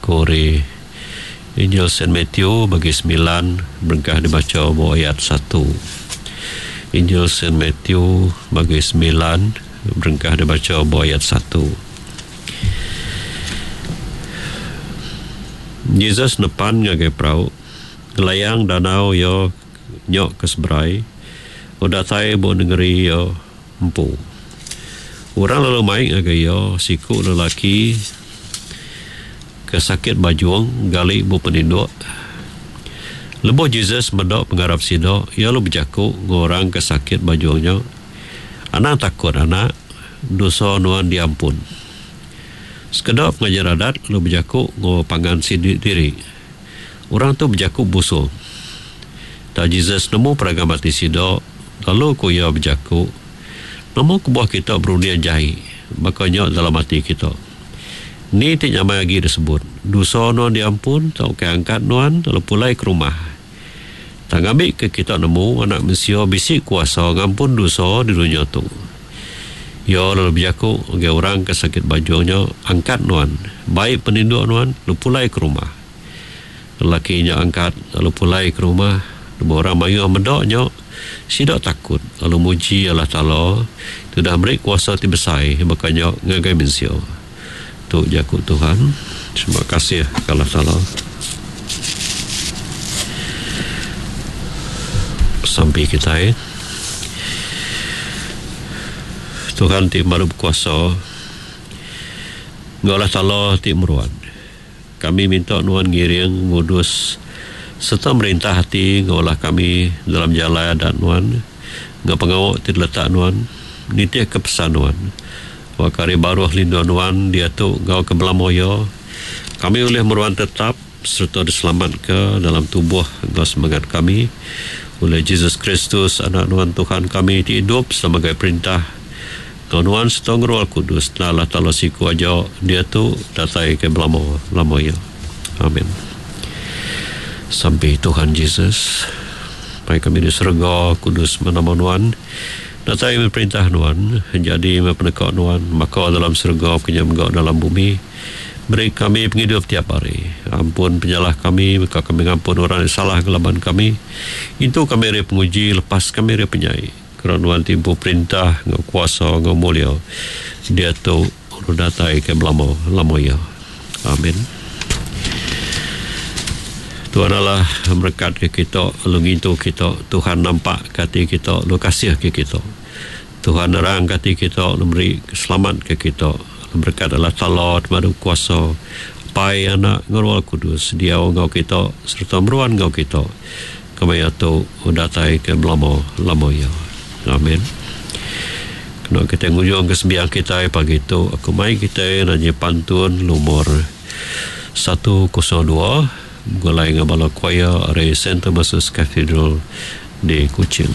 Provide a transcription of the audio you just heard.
jaku ari Injil Saint Matthew bagi semilan berengkah dibacha ba ayat satu. Injil Saint Matthew bagi semilan berengkah dibacha ba ayat satu. Jesus nepan ngagai perau ngelayang danau iya nya ke seberai udah datai ba nengeri iya empu. Orang lalu mai ngagai iya siku lelaki ke sakit bajung gali bup peninduk. Lebuh Jesus meda pengarap sida, iya lalu bejaku enggau orang ke sakit bajung nya, Anang takut anak, dosa nuan diampun. Sekeda pengajar adat lalu bejaku enggau pangan sida diri, Orang tu bejaku busung. Tang Jesus nemu peragam ati sida, lalu ku iya bejaku, Nama kebuah kita berunding jai baka nya dalam ati kita? Ni ti nyamai agi disebut, Dosa nuan diampun tauka Angkat nuan lalu pulai ke rumah? Tang ngambika kita nemu Anak Mensia bisi kuasa ngampun dosa di dunya tu. Iya lalu bejaku ngagai orang ke sakit bajung nya, Angkat nuan, bai peninduk nuan lalu pulai ke rumah. Lelaki nya angkat lalu pulai ke rumah. Lebuh orang mayuh meda nya, sida takut lalu muji Allah Taala ti udah meri kuasa ti besai baka nya ngagai mensia. Tu jaku Tuhan. Terima kasih ke Allah Taala. Sampi kitai. Tuhan ti baru bekuasa enggau Allah Taala ti meruan. Kami minta Nuan ngiring, ngudus, sereta merintah ati enggau ulah kami dalam jalai adat Nuan enggau pengawa ti diletak Nuan nitihka pesan Nuan. Awakka ari baruh lindung Nuan diatu enggau ke belama iya, kami ulih meruan tetap sereta diselamatka dalam tubuh enggau semengat kami ulih Jesus Kristus, Anak Nuan Tuhan kami ti idup sebagai perintah Enggau nuan sereta enggau Roh Kudus enda Allah Taala siku aja diatu datai ke belama lama iya. Amin. Sampi Tuhan Jesus, Pai kami di serega, kudus meh nama nuan, datai meh perintah nuan, jadi meh peneka nuan baka dalam serega ke nya mega dalam bumi. Beri kami pengidup tiap hari. Ampun penyalah kami baka kami ngampun orang ti salah ngelaban kami. Intu kami ari penguji, lepas kami ari penyai. Kera nuan ti empu perintah enggau kuasa enggau mulia diatu lalu datai ke belama lama iya. Amin. Tuhan Allah merekat ke kita lalu ngintu kita. Tuhan nampak ke ati kita lalu kasih ke kita. Tuhan nerang ke ati kita lalu meri selamat ke kita. Lalu berekat Allah Taala ti madu kuasa Apai, Anak enggau Roh Kudus diau enggau kita sereta meruan enggau kita. Kemaya tu datai ke belama lama iya. Amin. Kena kitai ngujung ke sembiang kitai pagi tu aku mai kitai nanyi pantun lumur 102 begulai enggau bala choir ari Saint Thomas's Cathedral di Kuching.